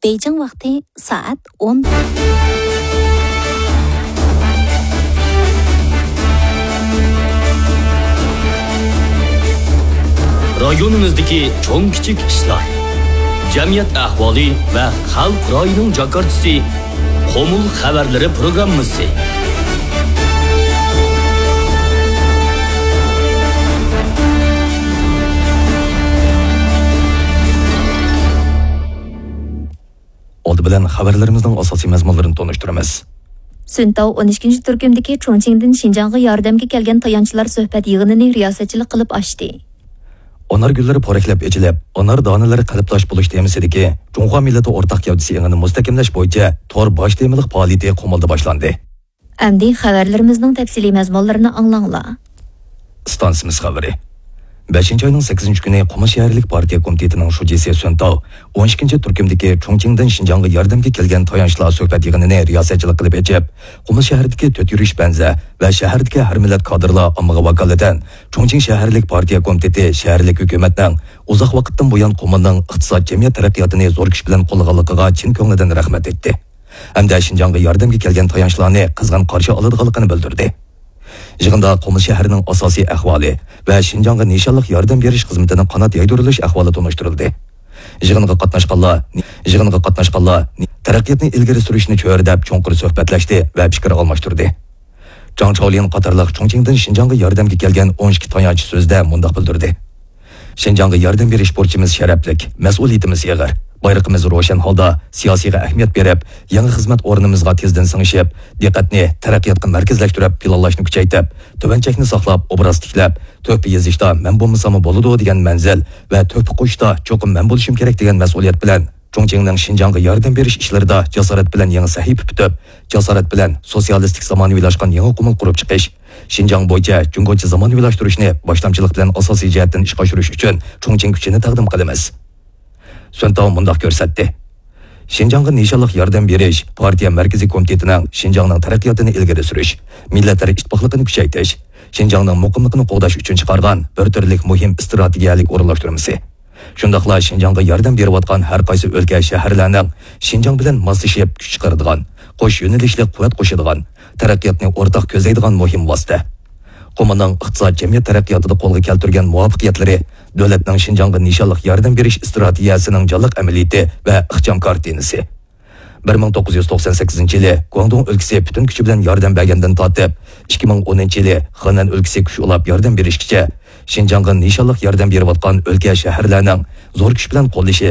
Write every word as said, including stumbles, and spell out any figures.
بېيجىڭ ۋاقتى سائەت ئون. رايونىمىزدىكى چوڭ-كىچىك ئىشلار، جەمئىيەت ئەھۋالى ۋە خەلق رايىنىڭ جاكارتىسى، قۇمۇل خەۋەرلىرى پروگراممىسى. ئالدى بىلەن خەۋەرلىرىمىزنىڭ ئاساسىي مەزمۇنلىرىنى تونۇشتۇرىمىز. سۈنتاۋ ئون ئىككىنچى تۈركۈمدىكى چۇڭچىڭدىن شىنجاڭغا ياردەمگە كەلگەن تايانچلار سۆھبەت يىغىنىنى رىياسەتچىلىك قىلىپ ئاچتى. ئانار گۈللىرى پورەكلەپ ئېچىلىپ، ئانار دانىلىرى قەلبداش بولۇش تېمىسىدىكى جۇڭخۇا مىللىتى ئورتاق گەۋدىسى ئېڭىنى مۇستەھكەملەش بويىچە تور باش تېمىلىق پائالىيىتى قۇمۇلدا باشلاندى. ئەمدى خەۋەرلىرىمىزنىڭ تەپسىلىي مەزمۇنلىرىنى ئاڭلاڭلار. ئىستانسىمىز خەۋىرى. بەشىنچى ئاينىڭ سەككىزىنچى كۈنى قۇمۇل شەھەرلىك پارتىيە كومىتېتىنىڭ شۇجىسى سۈنتاۋ ئون ئىككىنچى تۈركۈمدىكى چۇڭچىڭدىن شىنجاڭغا ياردەمگە كەلگەن تايانچلار سۆھبەت يىغىنىنى رىياسەتچىلىك قىلىپ ئېچىپ، قۇمۇل شەھىرىدىكى تۆت يۈرۈش بەنزە ۋە شەھەردىكى ھەر مىللەت كادىرلار ئاممىغا ۋاكالىتەن چۇڭچىڭ شەھەرلىك پارتىيە كومىتېتى شەھەرلىك ھۆكۈمەتنىڭ ئۇزاق ۋاقىتتىن بۇيان قۇمۇلنىڭ ئىقتىساد، جەمئىيەت تەرەققىياتىنى زور كۈچ بىلەن قوللىغانلىقىغا چىن كۆڭلىدىن رەھمەت ئېيتتى. ھەمدە شىنجاڭغا ياردەمگە كەلگەن تايانچلارنى قىزغىن قارشى ئالىدىغانلىقىنى بىلدۈردى. يىغىندا قۇمۇل شەھىرىنىڭ ئاساسىي ئەھۋالى ۋە شىنجاڭغا نىشانلىق ياردەم بېرىش خىزمىتىنىڭ قانات يايدۇرۇلۇش ئەھۋالى تونۇشتۇرۇلدى. يىغىنغا قاتناشقانلار، يىغىنغا قاتناشقانلار تەرەققىياتنى ئىلگىرى سۈرۈشنى چۆرىدەپ چوڭقۇر سۆھبەتلەشتى ۋە پىكىر ئالماشتۇردى. جاڭ چاۋلىن قاتارلىق چۇڭچىڭدىن شىنجاڭغا ياردەمگە كەلگەن ئون ئىككى تايانچ سۆزىدە مۇنداق بىلدۈردى: شىنجاڭغا ياردەم بېرىش بۇرچىمىز شەرەپلىك، مەسئۇلىيىتىمىز ئېغىر. بايرىقىمىز روشەن ھالدا سىياسىيغا ئەھمىيەت بېرىپ، يېڭى خىزمەت ئورنىمىزغا تېزدىن سىڭىشىپ، دىققەتنى تەرەققىياتقا مەركەزلەشتۈرۈپ پىلانلاشنى كۈچەيتىپ، تۆۋەن چەكنى ساقلاپ، ئوبراز تىكلەپ، تۆھپە يېزىشتا مەن بولمىساممۇ بولىدۇ دېگەن مەنزىل ۋە تۆھپە قوشۇشتا چوقۇم مەن بولۇشۇم كېرەك دېگەن مەسئۇلىيەت بىلەن چۇڭچىڭنىڭ شىنجاڭغا ياردەم بېرىش ئىشلىرىدا جاسارەت بىلەن يېڭى سەھىپە پۈتۈپ، جاسارەت بىلەن سوتسىيالىستىك زامانىۋىلاشقان يېڭى قۇمۇل قۇرۇپ چىقىش، شىنجاڭ بويىچە جۇڭگوچە زامانىۋىلاشتۇرۇشنى باشلامچىلىق بىلەن ئاساسىي جەھەتتىن ئىشقا ئاشۇرۇش ئۈچۈن چۇڭچىڭ كۈچىنى تەقدىم قىلىمىز. سۈنتاۋ مۇنداق كۆرسەتتى: شىنجاڭغا نىشانلىق ياردەم بېرىش پارتىيە مەركىزىي كومىتېتىنىڭ شىنجاڭنىڭ تەرەققىياتىنى ئىلگىرى سۈرۈش، مىللەتلەر ئىتتىپاقلىقىنى كۈچەيتىش، شىنجاڭنىڭ مۇقىملىقىنى قوغداش ئۈچۈن چىقارغان بىر تۈرلۈك مۇھىم ئىستراتېگىيەلىك ئورۇنلاشتۇرمىسى. شۇنداقلا شىنجاڭغا ياردەم بېرىۋاتقان ھەر قايسى ئۆلكە، شەھەرلەرنىڭ شىنجاڭ بىلەن ماسلىشىپ كۈچ چىقىرىدىغان، قوش يۆنىلىشلىك قۇۋۋەت قوشىدىغان، تەرەققىياتنى ئورتاق كۆزلەيدىغان مۇھىم ۋاسىتە. قۇمۇلنىڭ ئىقتىساد، جەمئىيەت تەرەققىياتىدا قولغا كەلتۈرگەن مۇۋەپپەقىيەتلىرى دۆلەتنىڭ شىنجاڭغا نىشانلىق ياردەم بېرىش ئىستراتېگىيەسىنىڭ جانلىق ئەمەلىيىتى ۋە ئىخچام كارتىنىسى. بىر مىڭ توققۇز يۈز توقسان سەككىزىنچى يىلى گۇاڭدۇڭ ئۆلكىسى پۈتۈن كۈچى بىلەن ياردەم بەرگەندىن تارتىپ، ئىككى مىڭ ئونىنچى يىلى خېنەن ئۆلكىسى كۈچ ئۇلاپ ياردەم بېرىشكىچە، شىنجاڭغا نىشانلىق ياردەم بېرىۋاتقان ئۆلكە، شەھەرلەرنىڭ زور كۈچ بىلەن قوللىشى